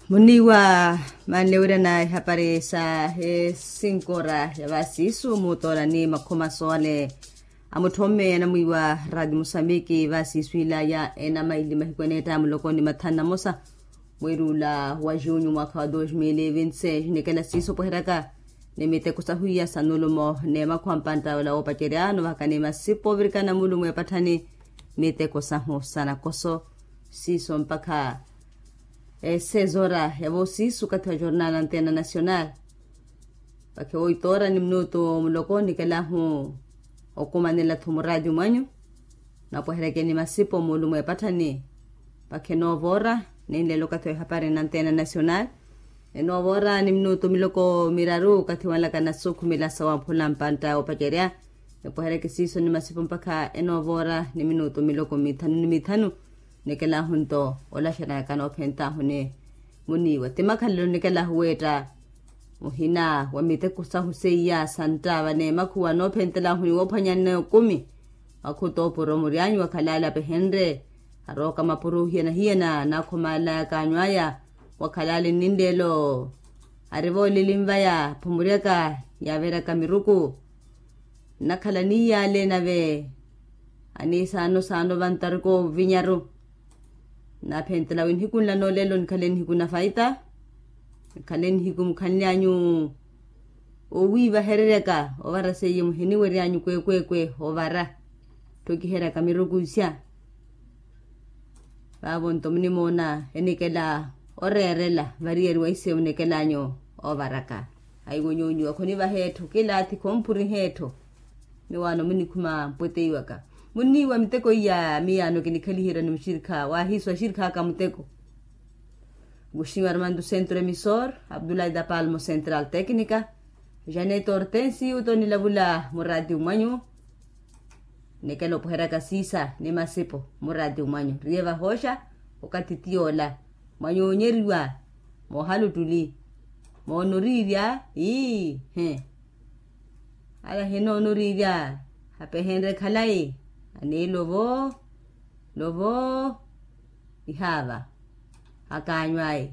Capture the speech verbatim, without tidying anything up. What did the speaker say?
Muniiwa, manlewirana ehapari sa esinkora ya vasiisu mutoorani makhuma soone a mutthomme anamwiiwa radio musambiki vasiisu ila ya enamaili mahiku eneetta muloko ni mathanu na mosa, mweeri ula wa junyu mwaakha wa dos mil e vinti seis nikela siiso opweheryaka ni miteko sahwiya sa nulumo n'emakhuwa mpantta ola woopacerya novahaka ni masipo ovirikana mulumo epatthani miteko sahu sa nakoso. Siiso mpakha esezora ya voosiisu okathi wa jornal anteena nacional. Vakhe oito ora ni minutu muloko nikelahu okumanela-tho muraati mwanyu napweherekeni masipo muulumo epatthani. Vakhe novo ora ninleela okathi wa ehapari na anteena nacional. Enovo ora ni minutu miloko miraru okathi wanlaka nasookhumela sawamphula mpantta oopacerya. Nipwehereke siiso ni masipo mpakha enovo ora ni minutu miloko mithanu ni mithanu. Nikelahu nto olaxanaka noophentaahu ni muniiwa ti makhalelo nikelahu weetta muhina wa miteko sahu seiya santta vaneemakhuwa noophentelaahu ni woophwanyanne okumi. Makhuto opuro muryanyu wakhalale apehenrye arooka mapuro ohiyana-hiyana naakhomalaya kaanyu aya. Wakhalale nninleelo ari voolili nvaya phomuryaka yaaveryaka miruku. Nnakhala niiyale nave aniisaano saano vantariko vinyaru. Naaphentela wi nihiku nla noolelo nikhale nihiku na faita. Nikhale nihiku mukhanlyanyu owiivahereryaka ovara seiye muhiniwery'anyu kweekweekwe ovara. Ttokiheryaka miruku isya. Vaavo nto munimoona enikela oreerela variyeri wa isewu nekel'anyu ovaraka. Aiwo nyuunyu akhonivaha etthu kilaathi khomphuriha etthu. Miwaano munikhuma mpweteiwaka. Munniiwa miteko iya miyaano kinikhaliherya ni muxirikha waahiiso axirikha aka muteko. Guxiwa armando centro emisor abdulai da palmo central tecnica. Janet hortensi uto nilavula muraati mwanyu. Nikela opweheryaka siisa ni masipo muraati mwanyu riye vahooxa okathi tiyoola mwanyu oonyeriwa. Moohala ottuli moona oriirya ii he. Ala hinoona oriirya apehenrye khalayi aniilovo lovo ihaava akaanyu ayi.